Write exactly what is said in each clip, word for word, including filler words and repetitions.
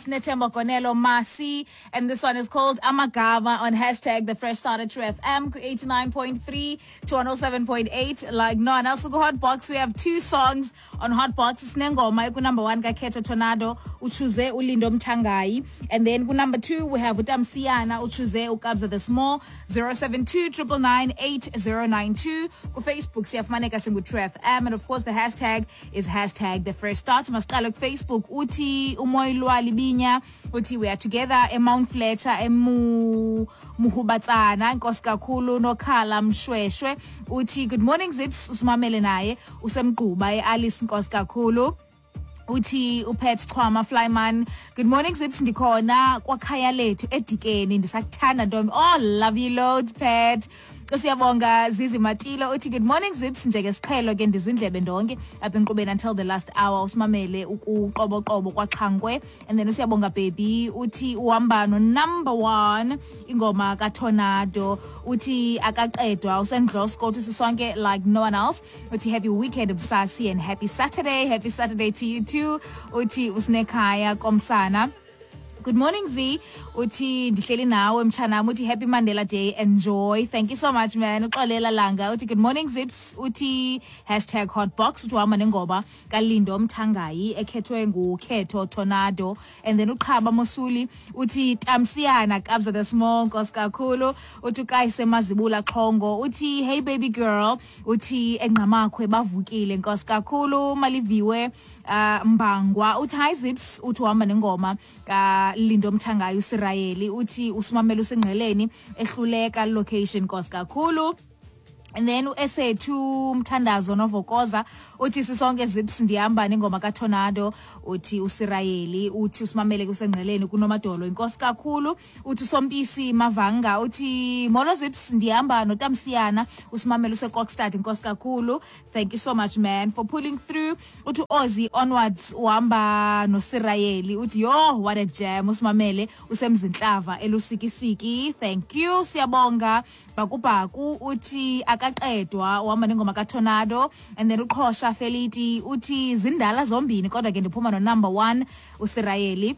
Snethemba Gonelo Masi, and this one is called Amagama on hashtag the fresh start at True F M eighty-nine point three to one oh seven point eight. Like no one else. Go Hot Box. We have two songs on Hot Box. Sinengoma ku number one kaKhetho Tornado, uchoose uLindo Mthangayi, and then ku number two we have uTamsiyana, uchoose uKabza the Small. Zero seven two triple nine eight zero nine two. Ku Facebook siyafumaneka singu True F M, and of course the hashtag is hashtag the fresh start. Masiqale ku Facebook uthi uMoyilwa Libinya uthi we are together eMount Fletcher emu Muhubatsana. Nkosi kakhulu. Nokhala Mshweshwe uthi good morning Zips, usimamele naye usemgquba eAlice. Nkosi kakhulu. Uthi uPet Chwama Flyman, good morning Zips, ndikhona kwakhaya lethu eDikeni, ndisakuthanda ntombi. Oh, love you loads Pet. Siyabonga Zizi Matilo uthi good morning Zips, njengesiqhelo ke ndizindlebe ndonke apha enkqubeni until the last hour, usimamele ukuqoboqobo kwaXhangwe. And then usiyabonga baby uthi uhamba no number one ingoma kaTornado, uthi akaqedwa usendlosko, uthi sisonke like no one else. Uthi happy weekend Msasi and happy Saturday. Happy Saturday to you too. Uthi usinekhaya komsana. Good morning Z, uthi ndihleli nawe mtshanam, uthi happy Mandela Day, enjoy. Thank you so much man. Uxolela Langa uthi good morning Zips, uthi hashtag hotbox, uthi uhamba nengoba kaLindo Mthangayi ekhethwe nguKhetho Tornado. And then uQhaba Mosuli uthi Tamsiyana Kabza the Small, nkosi kakhulu. Uthi uKayise Mazibula Xhongo uthi hey baby girl, uthi eNgqamakhwe bavukile, nkosi kakhulu. Maliviwe uh, Mbangwa uthi hi Zips, uthi uhamba nengoma ka Lindo Mthangayi uSirayeli, uthi usimamela usengqeleni ehluleka location, nkosi kakhulu. And then uEsethu Mthandazo Novokoza uthi sisonke Zips ndihamba nengoma kaTornado, uthi uSirayeli, uthi usimamele kusengqeleni kunomadolo, inkosi kakhulu. Uthi uSompisi Mavanga uthi molo Zips ndihamba noTamsiyana, usimamele useKokstad, inkosi kakhulu. Thank you so much man for pulling through. Uthi Ozzy onwards uhamba noSirayeli, uthi yo what a jam, usimamele usemzinhlava elusikisiki. Thank you siyabonga. Bakubaku uthi akaqedwa uhamba nengoma kaTornado. And then uQhosha Feliti uthi zindala zombini kodwa ke ndiphuma no number one uSirayeli,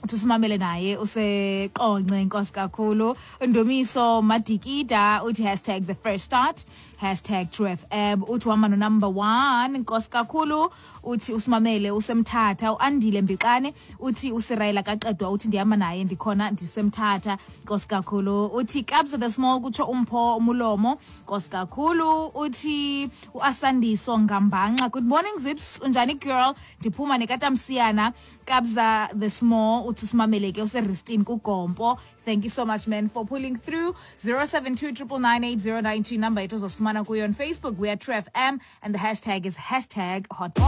uthi usimamele naye useqonce, inkosi kakhulu. Ndumiso Madikida uthi hashtag the fresh start hashtag True F M, uthi uhamba no number one, inkosi kakhulu. Uthi usimamele usemthatha. uAndile Mbixane uthi uSirayela kaqedwa, uthi ndihamba naye ndikhona ndisemthatha, inkosi kakhulu. Uthi Kabza the Small kutsho umpho umulomo, inkosi kakhulu. Uthi uAsandiso Ngambanxa, good morning Zips, unjani girl, ndiphuma nekaTamsiyana Kabza the Small, uthi usimamele ke useRistini kuGompo. Thank you so much man for pulling through. Zero seven two triple nine eight zero nine two number yethu uzosifumana kuyo on Facebook. We are True F M and the hashtag is hashtag hotbox.